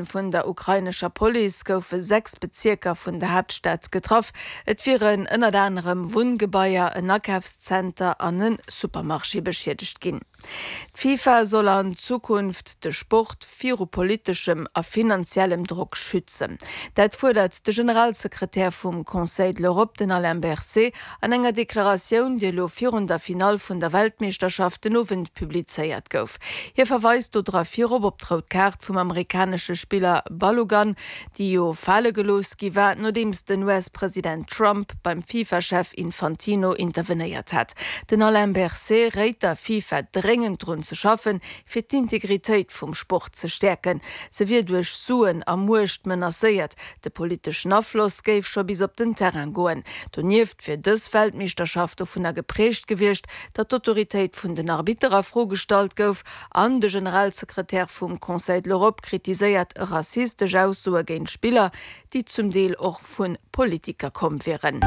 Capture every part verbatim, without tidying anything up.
Vun der ukrainescher Police goufe sechs Bezierker vun der Haaptstad getraff. Et wieren ënnert anerem Wunngebaier, en Akafszenter an e Supermarché beschiedegt ginn. D'FIFA soll an Zukunft de Sport viru politeschem a finanziellem Drock schützen. Dat fuerdert de Generalsekretär vum Conseil de l'Europe, den Alain Berset, an enger Deklaratioun, déi elo virun der Finall vun der Weltmeeschterschaft den Owend publizéiert gouf. Hie verweist do dra virop op d'rout Kaart vum amerikanesche Spiller Balogun, déi jo fale gelooss gi war, nodeems den US-President Trump beim FIFA-Chef Infantino intervenéiert hat. Den Alain Berset réit der FIFA dréngend drun ze schaffen, fir d'Integritéit vum Sport ze stäerken. Se wier duerch Suen a Muecht menacéiert. De politeschen Afloss géif scho bis op den Terrain goen. Donieft wier dës Weltmeeschterschaft dovunner geprägt gewiescht, datt d'Autoritéit vun den Arbitter a Fro gestallt gouf an de Generalsekretär vum Conseil de l'Europe kritiséiert rassistesch Aussoe géint Spiller, déi zum Deel och vu Politiker komm wieren.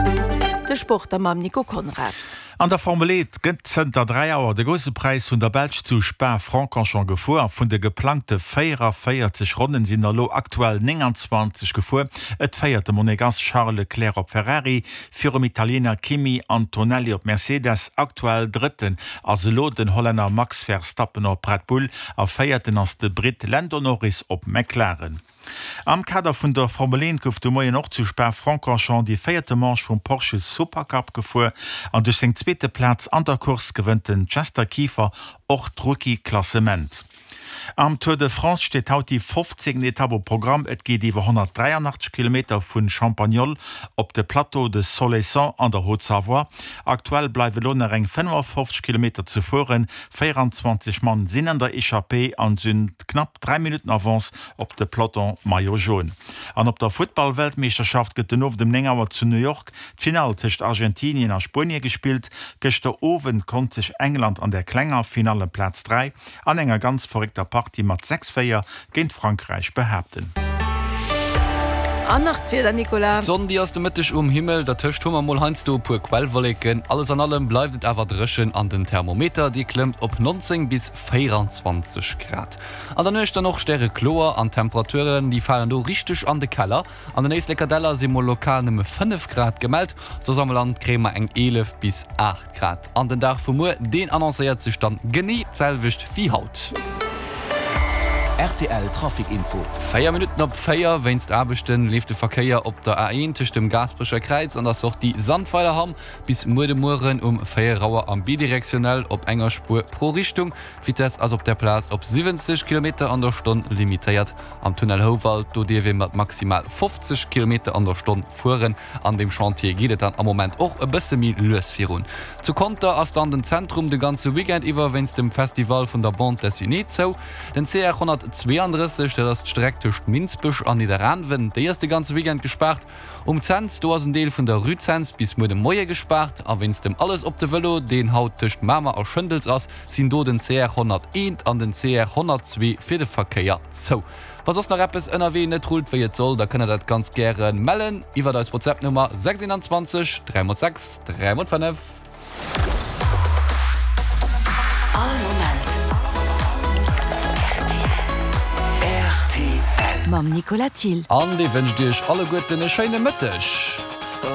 De Sport da mam Nico Conrads. An der Formel Eent gëtt zënter dräi Auer de Grousse Präis vun der Belsch zu Spa-Francorchamps gefuer. A vun de geplangte véierunvéierzeg Ronnen sinn der elo aktuell nénganzwanzeg gefuer. Et féiert de Monegass Charles Leclerc op Ferrari virum Italiener Kimi Antonelli op Mercedes. Aktuell Drëtten ass elo den Hollänner Max Verstappen op Red Bull a Véierten ass de Britt Lando Norris op McLaren. Am Kader vun der Formel eent gouf de Moien och zu Spa-Francorchamps déi véierte Manche vum Porsche Supercup gefuer an duerch seng zweete Plaz an der Course gewënnt den Chester Kieffer och d'Rookie-Klassement. Am Tour de France steet haut déi fofzéngten Etapp um Programm. Et geet iwwer honnertdräianachtzeg Kilometer vu Champagnole op de Plateau de Solesson an der Haute-Savoie. Aktuell bleiwe lo nach eng fënnefafofzeg Kilometer ze fueren. Véieranzwanzeg Mann sinn an der Echappée an sinn knapp dräi Minutten Avance op de Peloton Maillot Jaune. An op der Futtball-Weltmeeschterschaft gëtt den Owend um néng Auer zu New York d'Finall tëscht Argentinien a Spuenie gespillt. Gëschter Owend konnt sech England an der klenger Finall ëm Plaz dräi an enger ganz verréckter Partie mat sechs, véier géint Frankräich behaapten. An nach d'Wieder, Nicolas. D'Sonn, déi ass de Mëtteg um Himmel, dertëscht hu mer mol heiansdo e puer Quellwolleken. Alles an allem bleift et awer dréchen an den Thermometer, dee klëmmt op neunzéng bis véieranzwanzeg Grad. An der Nuecht dann och stärekloer an d'Temperaturen, déi falen do richteg an de Keller. An den Éisleker Däller si mol lokal nëmme fënnef Grad gemellt, soss am Land kréie mer eng eelef bis aacht Grad. An den Dag vu muer, deen annoncéiert sech dann genee d'selwecht wéi haut. Rtl Trafic Info. Véier Minutten op véier, Wéinst Aarbechten leeft de Verkéier op der A eent tëscht dem Gaasperecher Kräiz an der Sortie Sandweilerhamm bis muer de Mueren um véier Auer am bidirektionell op enger Spuer pro Richtung. D'Vitess ass op där Plaz op siwwenzeg Kilometer an der Stonn limitéiert. Am Tunnel Houwald, do dierf ee mat maximal fofzeg Kilometer an der Stonn fueren. An deem Chantier geet et dann am Moment och e bësse méi lues virun. Zu Conter ass dann den Zentrum de ganze Weekend iwwer wéinst dem Festival vun der Bande Dessinée zou. Den C R honnertzweeandrësseg, dat ass d'Streck tëscht Minsbech an Nidderaanwen, déi ass de ganze Weekend gespaart. Um Cents, do ass en Deel vun der Rue Cents bis muer de Moie gespaart. A wéinst dem Alles op de Vëlo, deen haut tëscht Mamer a Schëndels ass, sinn do den C R honnerteent an den C R honnertzwee fir de Verkéier zou. Wa soss nach eppes ënnerwee net rullt wéi et soll, da kënnt der dat ganz gäre mellen iwwert eis WhatsApp-Nummer sechs eenanzwanzeg dräi mol sechs dräi mol fënnef. All Moment rtl. Mam Nicolas Thill. An dee wënscht iech alleguerten e schéine Mëtteg.